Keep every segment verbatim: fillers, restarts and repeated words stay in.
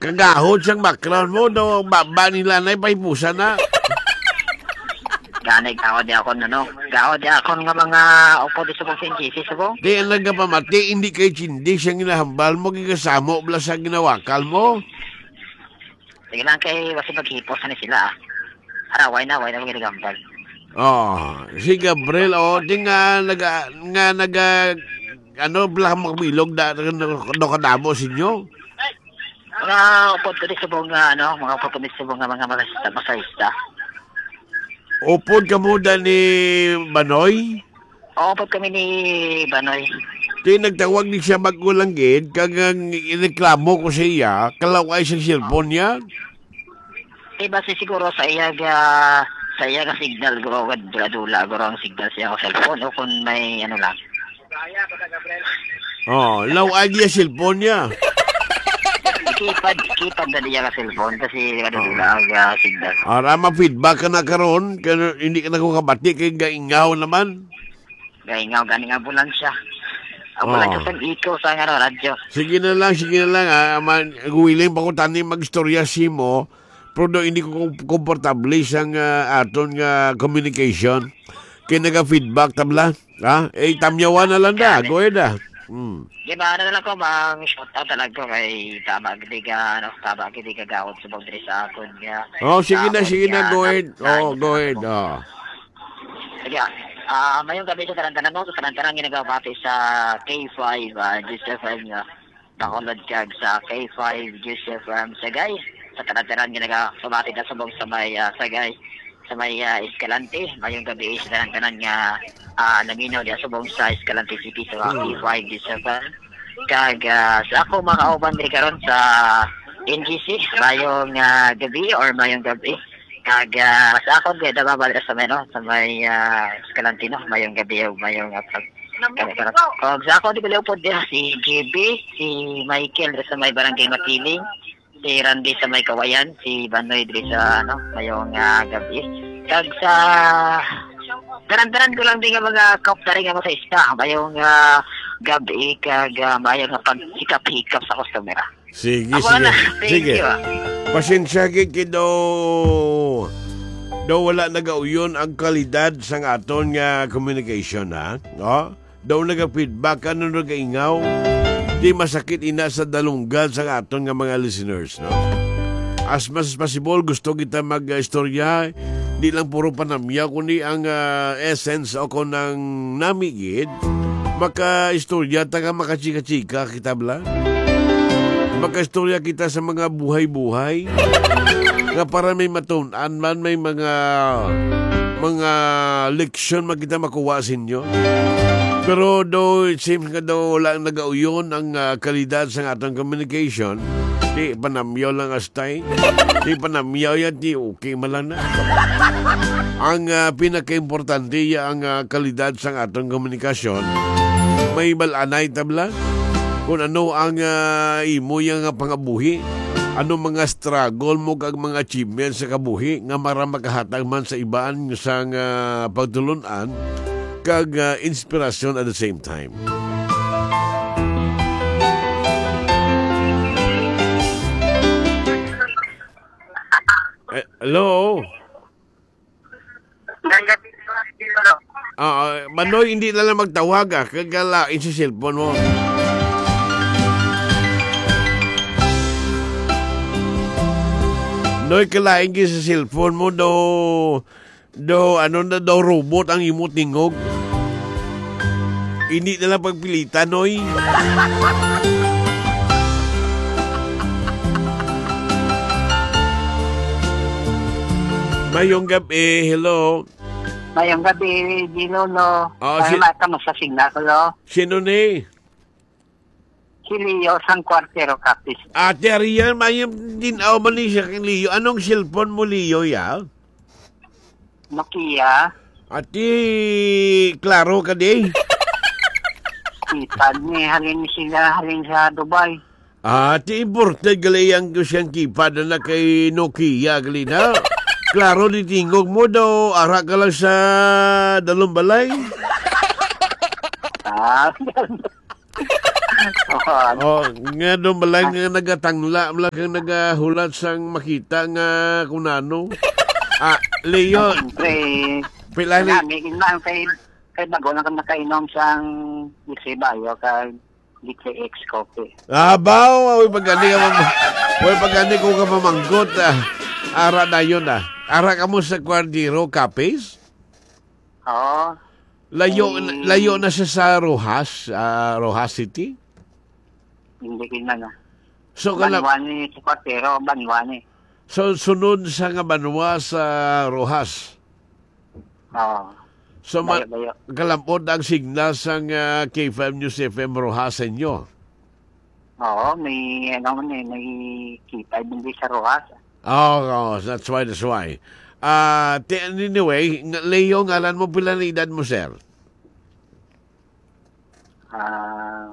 Kagahod sang background mo, no? Baba nila na, ipahipusan na. Gani, gahod di ako, no, no? Gahod di ako nga mga upod di subong sa N G C, subong. Di, ang nagapamati, hindi kay Chindi siya ginahambal mo, gigasamo bala sa ginawakal mo. Sige lang kay, basi maghipos na ni sila, ah. Ara, why na, why na maghambal? Oh, si Gabriel, oh, di nga naga-, nga naga-, ano, bala magbilog da, ano, ano kadamo sa inyo? Mga upod ko di subong nga, ano, mga upod ko di subong nga mga masahista, masahista. Upod ka mo da ni Banoy? Oo, upod kami ni Banoy. Di nagtawag ni siya mag-ulanggit, kag ang ireklamo ko sa iya, kalaw-ay sa cellphone niya. Di ba si siguro sa iya ga, sa iya ga signal, guro, dula-dula, guro ang signal sa iya nga cellphone, o kung may ano lang. Oh, law-ag iya cellphone niya. Keypad, keypad na niya nga cellphone kasi ano, oh, dula ang, ah, signal. Ara, ma-feedback ka na karon, kaya hindi ka na ko kabati kay gaingaw naman. Gaingaw, gani nga ambulansya. Ambulansya, oh, sang ikaw sa nga radyo. Sige na lang, sige na lang, ah. Man, willing pa ko tani mag-istorya simo, pero do hindi ko kom-, komportable sang, ah, aton nga communication. Kay naga-feedback tabla. Ha? Eh, tamyawan na lang da. Gani. Go ahead, ah. Hmm. Di ba, ano na lang ko, mang shout out na lang ko kay tama gid ka, ano, tama gid ka gawad sa boundary sa akon nga. Oh, sige na, sige na, go ahead. Oh, go ahead. Oh. Sige, ah. Ah, mayong gabi sa tanan-tanan mo, sa tanan-tanan nga nagabati sa K five, ah, Juice F M nga Bacolod kag sa K five Juice F M Sagay. Sa tanan-tanan nga nagabati na subong sa may, ah, Sagay, sa may, ah, Escalante. Mayong gabi sa tanan-tanan nga, ah, naminaw diya subong sa Escalante City sa, mm, K five Juice F M. Kag, ah, sa ako mga kauban diri karon sa N G C, mayong, ah, gabi or mayong gabi. Kag, ah, sa akon, kay Dababal sa may, no, sa may, ah, Escalante, no, mayong gabi, mayong, ah, pag-, kag sa akon, di ko liupod diha, si G B, si Michael, sa may Barangay Matiling, si Randy sa may Kawayan, si Banoy, diri sa, ano, mayong, ah, gabi. Kag sa, tanan-tanan ko lang din nga mga kaupdaran nga masahista, mayong, ah, gabi, kag, ah, mayong nga pagsikap-hikap sa customer, ah. Sige, ako sige. Na. Thank, sige, you, ah. Pasensya gid kay daw, daw wala nagauyon ang kalidad sang aton nga communication, ha? No? Daw naga-feedback, ano, nagaingaw. Di masakit ina sa dalunggan sang aton nga mga listeners, no? As much as possible, gusto kita mag-istorya, di lang puro panamyaw, kundi ang, ah, essence o kung ang nami gid, makaistorya ta nga makachika-chika kita bala. Makaistorya kita sa mga buhay-buhay nga para may matun-an man, may mga, mga leksyon man kita makuha sa inyo. Pero though it seems nga daw wala nagauyon ang, ah, kalidad sa atong communication, di panamyaw lang as Tay, di panamyaw yan, di okay man lang na. Ang, ah, pinakaimportante ya ang, ah, kalidad sang aton komunikasyon. May bal-anay tabla kung ano ang, ah, imo ya nga pangabuhi, ano mga struggle mo kag mga achievements sa kabuhi nga mara makahatag man sa iban sang, ah, pagtulon-an kag, ah, inspirasyon at the same time. Eh, hello? Ah, ah, Manoy, hindi na lang magtawag, ah. Kagalain sa cellphone mo. Noy, kalain gyud sa cellphone mo, daw, daw, ano na, daw robot ang imo tingog. Hindi na lang pagpilitan, oy. Mayong gabi, hello. Mayong gabi, Di Lolo. Ah, si- Ay, mata mo sa signal ko, lo. Sino ni? Si Leo, sang Cuartero, Capiz. Ate Ariel, mayong din-aw man ni siya kay Leo. Anong cellphone mo, Leo, ya? Nokia. Ati, klaro ka di? Kita ni, halin sila, halin sa Dubai. Ati, imported gali ang siyang keypad na kay Nokia gali na. Klaro di tingog mo daw, ara ka lang sa dalong balay. Ah, Oo. Oh, nga doon ba lang nga nagatangla, ba lang kang nagahulat sang makita nga kung ano? Ah, Leo, Siyempre, pila ni nami, inang kay, kay bago lang ka makainom sang Dulce Bayo, kag D T X Coffee. Abaw, way pagani ka mam-, way pagani ko ka mamangkot, ah. Ara na yun, ah. Ara ka mo sa Cuadero Cafes? Oo. Layo, Ay. layo na siya sa Roxas, ah, Roxas City? Hindi ko na na. So, kala- Banwa ni sa Cuadero, Banwa ni. So, sunod sa nga banwa sa Roxas? Oo. So, ma-, Layo, layo. Kalampot ang signal sang, ah, K five News F M Roxas sa inyo? Oo, may, ano man eh, may K five din sa Roxas. Oo, oo, that's why, that's why. Ah, ti-, anyway, nga-, Leo, ngalan mo, pila na edad mo, sir? Ah,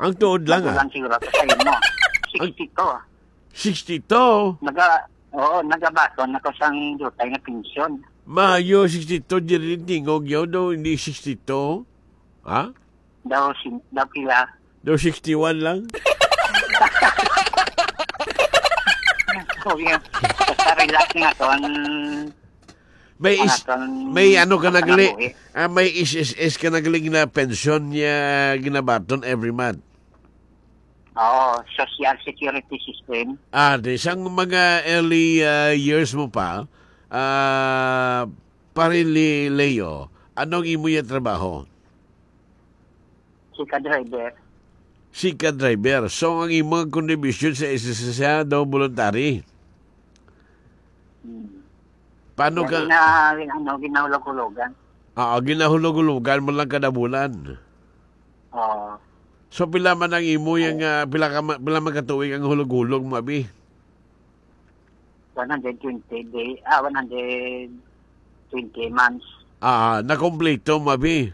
Ang tuod lang, ah. Kulang siguro ako sa imo. Ang sixty-two. Sixty-two? Naga-, oo, nagabaton ako sang dutay nga pensyon. Maayo, sixty-two, diri tingog yaw daw, hindi sixty-two. Ha? Daw sin-, daw pila? Daw sixty-one lang. Okay. Basta relax nga to ang May is-, ang atong may ano ka nagli-, pagkanabuhi. Ah, may S S S ka nagli nga pensyon niya ginabaton every month. Oo, Social Security System. Ah, di, sang mga early, ah, years mo pa, ah, pare Li-, Leo, anong imo yung trabaho? Sika driver. Sika driver. So, ang imong contribution sa S S S daw voluntary? Hmm. Paano Yan ka gina-, ano, ginahulog-hulugan. Oo, ginahulog-hulugan mo lang kada bulan. Oo. So, pila man ang imo yung, Oo. ah, pila ka ma-, pila man ka tuig ang hulog-hulog mo, abi? One hundred twenty day, ah, one hundred twenty months. Ah, nakompleto mo, abi?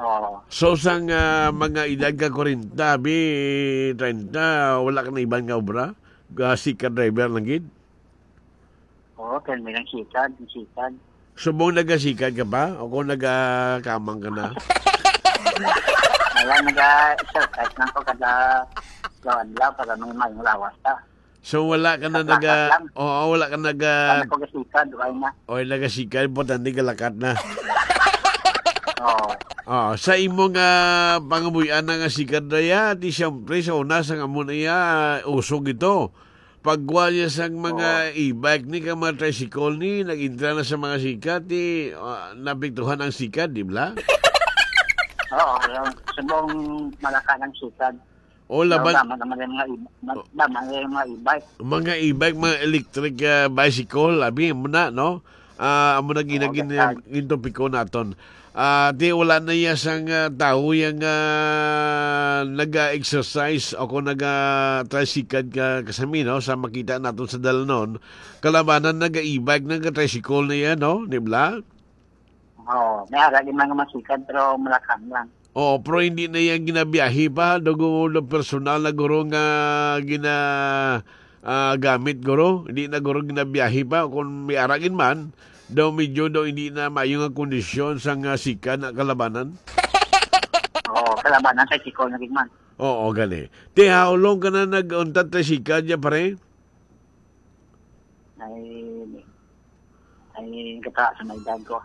Oo. So, sang, ah, mga edad ka kwarenta, abi, treinta, wala ka na iban nga obra? Ga-, sika driver lang gid? Oo, pero may lang sikad, may sikad. Subong nagasikad ka pa? O kung nagakamang ka na? Wala, naga-exercise lang ko kada adlaw para may mayong lawas ta. So, wala ka na Sa plakat naga-, lang. Oo, wala ka naga- Wala ko gasikad, wala na. O, nagasikad, importante galakat na. Oo. Oo, sa imo nga pangamuy-an na nga sikad na ya, di siyempre sa una, sa amo na ya, usog ito. Pagwa niya sang mga Oo. e-bike ni, kang mga tricycle ni, nag-intra na sa mga sikad, di, ah, napiktuhan ang sikad, di ba? Oo, yung subong malaka ng sikad. O, laban. Tama naman yung mga e-, ma-, O. tama yung mga e-bike. Mga e-bike, mga electric, ah, bicycle, abi mo na, no? Ah, amo na Oo, ginagin-, gastad. Gintopiko naton. Ah, di, wala na iya sang, ah, tawo yang, ah, naga-exercise o kung naga-tricycle ka, kasami, no? Sa makita naton sa dalanon, kalabanan naga-e-bike, naga-tricycle na iya, no? Di ba? Oo, may ara din mga masikad, pero malakang lang. Oo, pero hindi na iya ginabiyahe pa. Dugo do personal na guro nga gina-, ah, gamit guro. Hindi na guro ginabiyahe pa. Kung may ara gid man, daw medyo daw hindi na maayo nga kondisyon sa nga sika na kalabanan. Oo, kalabanan sa sikol na gid man. Oo, gani. Ti, how long ka na nag-untat sa sika niya, pare? Ay, ay, gata sa may edad ko.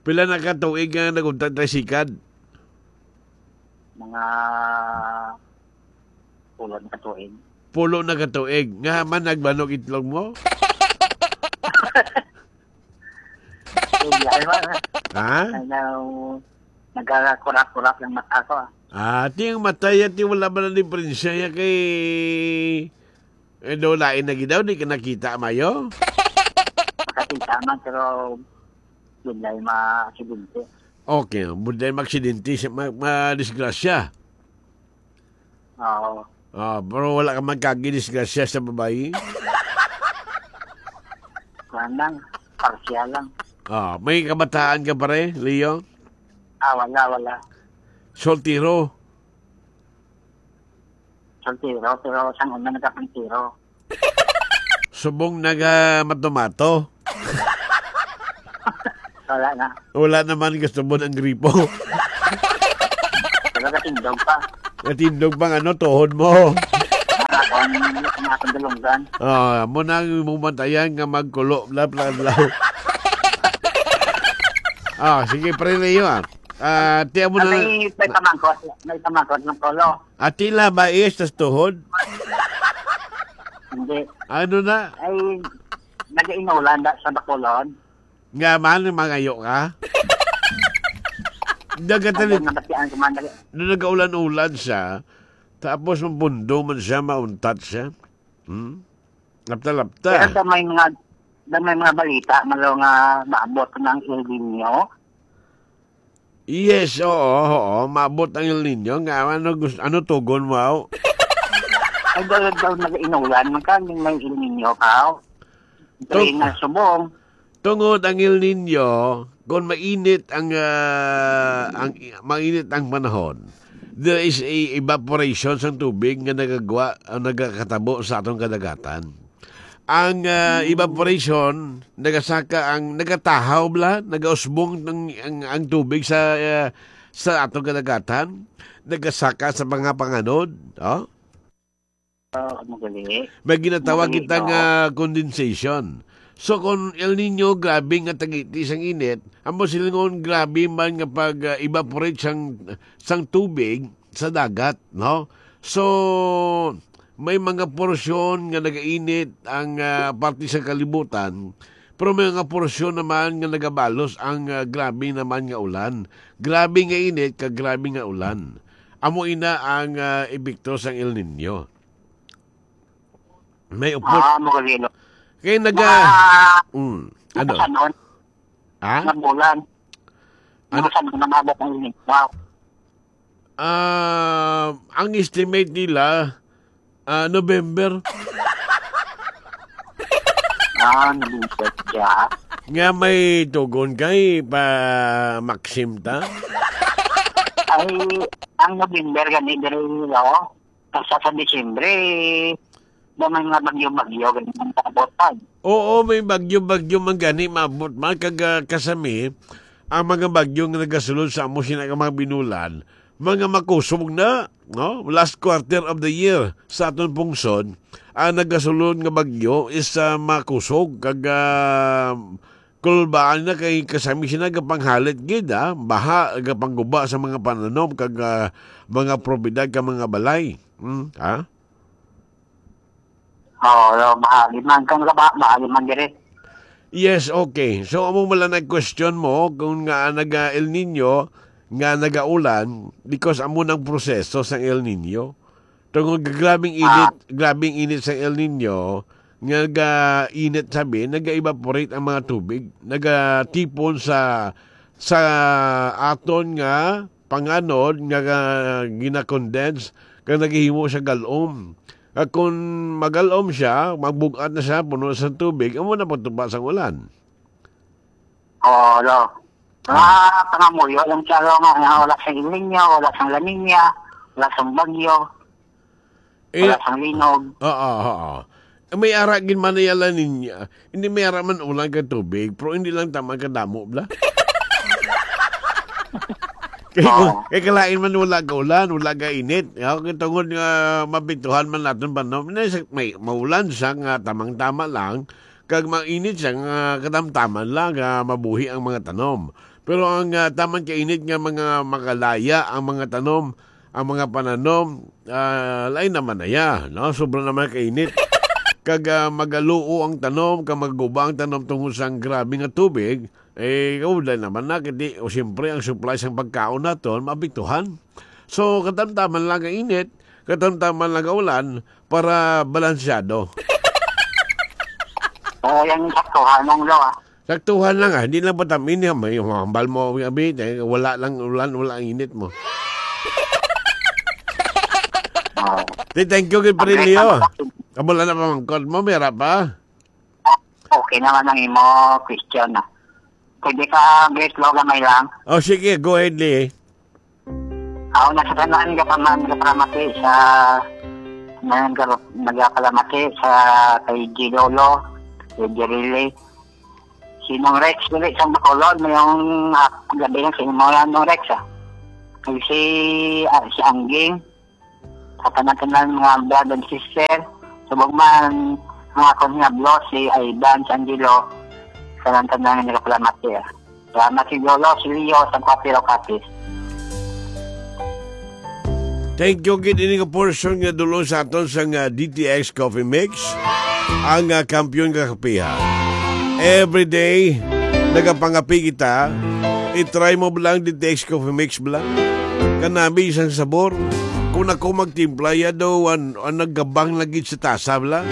Pila na ka tuig nga nag-untat tricycle? Mga pulo na ka tuig. Pulo na ka tuig. Nga man nagbanog itlog mo? Hindi, ay, wala. Ha? Ay, now, nagkakakurap-kurap yung mata ko, ah. Ah, ti ang mata ya, ti wala ba na diferensya ya kay, eh, daw lain na gid daw, di ka nakita, mayo? Makakita man, pero budlay maaksidente. Okay, budlay maaksidente, si-, ma-, madisgrasya. Oo. Ah, pero wala ka magkagi disgrasya sa babayi? Kuwan lang, parsyal lang. Ah, may kabataan ka, pare, Leo? Ah, wala, wala. Soltero? Soltero, pero sang una nagkapantero. Subong naga matomato? Wala na. Wala naman gusto mo ng gripo? Pero Tindog pa. Natindog pa nga, no, tuhod mo. Ang akong, ang akong dalunggan. Ah, mo na ang imong bantayan nga magkulo, bla, bla, bla. Ah, sige, Pre Leo, ah. Ah, tiyan mo na. May, may pamangkot, may pamangkot ng kulo. Ah, tila ba is tas tuhod? Hindi. Ano na? Ay, nag-inulan da sa Bacolod. Nga man, mangayo ka? Dagat Ang na, nabatian ko man, nag- nung nagaulan-ulan siya, tapos mabundo man siya, mauntat siya. Hmm? Lapta-lapta. Pero sa may mga, sa may mga balita, malo nga maabot ng El Nino. Yes, oo, oo. Maabot ang El Nino. Nga, ano, gust-, ano tugon mo, aw? Ay, daw, daw nag-inulan. Magkano may El Nino ka, aw? Tung- Dali na subong. Tungod ang El Nino, kung mainit ang, ah, ang, mainit ang panahon, there is a evaporation sang tubig nga nagagwa, ang nagakatabo sa atong kadagatan. Ang, ah, evaporation, nagasaka ang, nagatahaw bala, nagausbong ang, ang, ang tubig sa, ah, sa atong kadagatan, nagasaka sa mga panganod, oh? Ah, ano gali? May ginatawag Ano gali, kita no? nga condensation. So, kung El Nino, grabe nga tagiti sang init, amo silingon, grabe man nga pag, ah, evaporate sang, sang tubig sa dagat, no? So, may mga porsyon nga nagainit ang, ah, parte sa kalibutan, pero may mga porsyon naman nga nagabalos ang, ah, grabe naman nga ulan. Grabe nga init, kag grabe nga ulan. Amo ina ang, ah, epekto sang El Nino. May upod. Ah, mo gali, no? Kay naga-, Mga, mm, ano? Mga sanon, Ha? Mga bulan. Ano? Mga sanon na mabot ang init. Wow. Ah, ang estimate nila, ah, November. Ah, November siya. Nga may tugon kay pa Maxim ta? Ay, ang November gani diri, no? Basta sa Disyembre, ba may mga bagyo-bagyo, ganyan ang kaabot pa. Oo, may bagyo-bagyo man gani maabot man. Kag, ah, kasami, ang mga bagyo nga nagasulod sa amo sina nga mga binulan, mga makusog na, no? Last quarter of the year sa aton pungsod, ang nagasulod nga bagyo is, ah, makusog. Kag, ah, kulbaan na kay kasami sina gapanghalit gid, ah. Baha, gapangguba sa mga pananom kag, ah, mga propiedad kag mga balay. Hmm, ha? Oo, no, bahali man kang gaba, bahali man diri. Yes, okay. So, amo man lang ang question mo kung nga naga El Nino, nga nagaulan, because amo nang proseso sang El Nino. Tungod nga grabing init, Ah. grabing init sang El Nino, nga ga-init sabi, naga-evaporate ang mga tubig, nagatipon sa, sa aton nga panganod nga, nga gina-condense, kag nagahimo siya galom. Kag kung magalom siya, magbug-at na siya, puno sa tubig, amo na pagtupa sang ulan. Oo, lo. Mga Ah. pangamuyo lang siya, lo, nga, nga wala siyang El Nino, wala siyang La Nina, wala siyang bagyo, Eh, wala siyang linog. Oo, oo. May ara gid man iya La Nina. Hindi may ara man ulan kag tubig, pero hindi lang tama kadamo, bla. Kay, Oo. kay kalain man wala ka ulan, wala ka init. Ya, kay tungod nga mapiktuhan man naton ba, no? May, may maulan siya nga tamang-tama lang, kag mainit siya nga katamtaman lang nga mabuhi ang mga tanom. Pero ang, ah, taman kainit nga mga makalaya ang mga tanom, ang mga pananom, ah, lain naman na ya, no? Sobra naman kainit. Kag, ah, magaluo ang tanom, kag magaguba ang tanom tungod sang grabe nga tubig, eh, kaudlay naman na, kay di, o siyempre, ang supply sang pagkaon naton, maapektuhan. So, katamtaman lang ang init, katamtaman lang ang ulan, para balansyado. Oo, yan yung saktuhan mong lo, ah. Saktuhan lang, ah. Hindi lang patamin niya. May humambal mo, abi, eh, wala lang ulan, wala ang init mo. Oo. Di, thank you, kay Pre Ang Leo. Amo lang na pamangkot mo, may ara pa? Okay naman ang imo question, ah. Pwede ka, Grace, lo, gamay lang. Oh, sige, go ahead, Lee. Ako na sa tanan, gapaman, gapalamati sa, nang-, nagakalamati sa kay G Lolo, kay Jirili. Si Nong Rex, dili sa Bacolod, may yung, ah, gabi lang sa imo yan, Nong Rex, ah. Si, ah, si Angging, sa tanan-tanan mga brother and sister, subong man ang akon nga boss, si Ivan, si Angelo, sa tanan-tanan nga nagapalamat siya. Salamat si Lolo, si Leo, sa Kwatiro Kapis. Thank you gid ini nga portion nga dulong sa aton sang ah, D T X Coffee Mix, ang ah, kampiyon nga kapiha. Every day nagapangapi kita. I-try mo bala ang D T X Coffee Mix bala? Kanami isang sabor. Kung ako magtimpla ya daw an, an naggabang lagi sa tasa bala.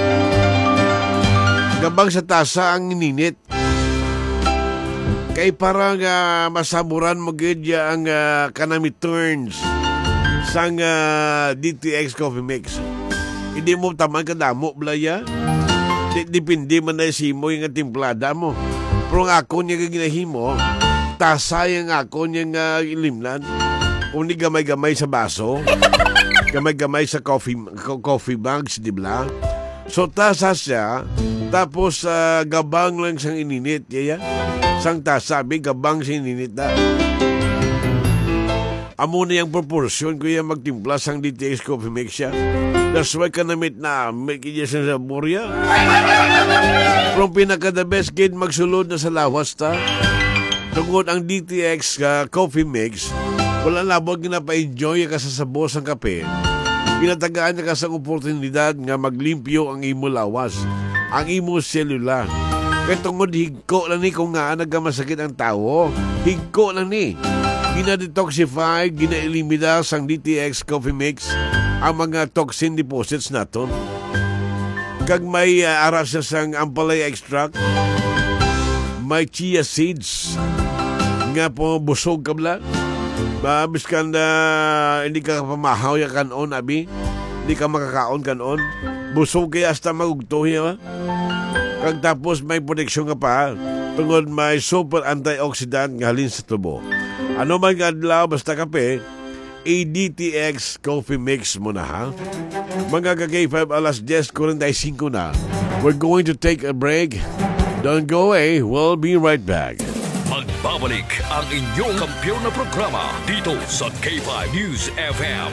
Gabang sa tasa ang ininit. Kay para nga masaburan mo gid ya ang ah, kanami turns sang ah, D T X Coffee Mix. Hindi mo taman kadamo, blaya. Di, depende man na simo yung timplada mo. Pero ang ako niya nga ginahimo, tasay ang ako niya nga ilimnan. Kung di gamay-gamay sa baso, gamay-gamay sa coffee co- coffee bags, di ba? So tasa siya, tapos ah, gabang lang sang ininit, yaya. Sang tasa, bi, gabang sang ininit na. Amo na yung proportion ko yung magtimpla sang D T X Coffee Mix siya. That's why kanamit na, may kanya sa sabor ya. From pinaka the best gid magsulod na sa lawas ta. Tungod ang D T X ka Coffee Mix, wala labot nga napa-enjoy ka sa sabor sang kape. Ginatagaan ka sa oportunidad nga maglimpyo ang imo lawas, ang imo selula. Kay tungod higko lang ni kung nga nagamasakit ang tawo, higko lang ni. Gina-detoxify, gina-elimina sang D T X Coffee Mix ang mga toxin deposits naton. Kag may ah, ara siya sang ampalaya extract. May chia seeds. Nga po, busog ka bala. Ba, biskan na hindi ka pamahaw ya kanon, abi. Hindi ka makakaon kanon. Busog kaya hasta magugto ya. Kag tapos may proteksyon ka pa tungod may super antioxidant nga halin sa tubo. Ano man nga adlaw, basta kape, A D T X Coffee Mix mo na, ha? Mga ka K five, alas diyes kuwarenta y singko na. We're going to take a break. Don't go away. We'll be right back. Magbabalik ang inyong kampiyon na programa dito sa K five News F M.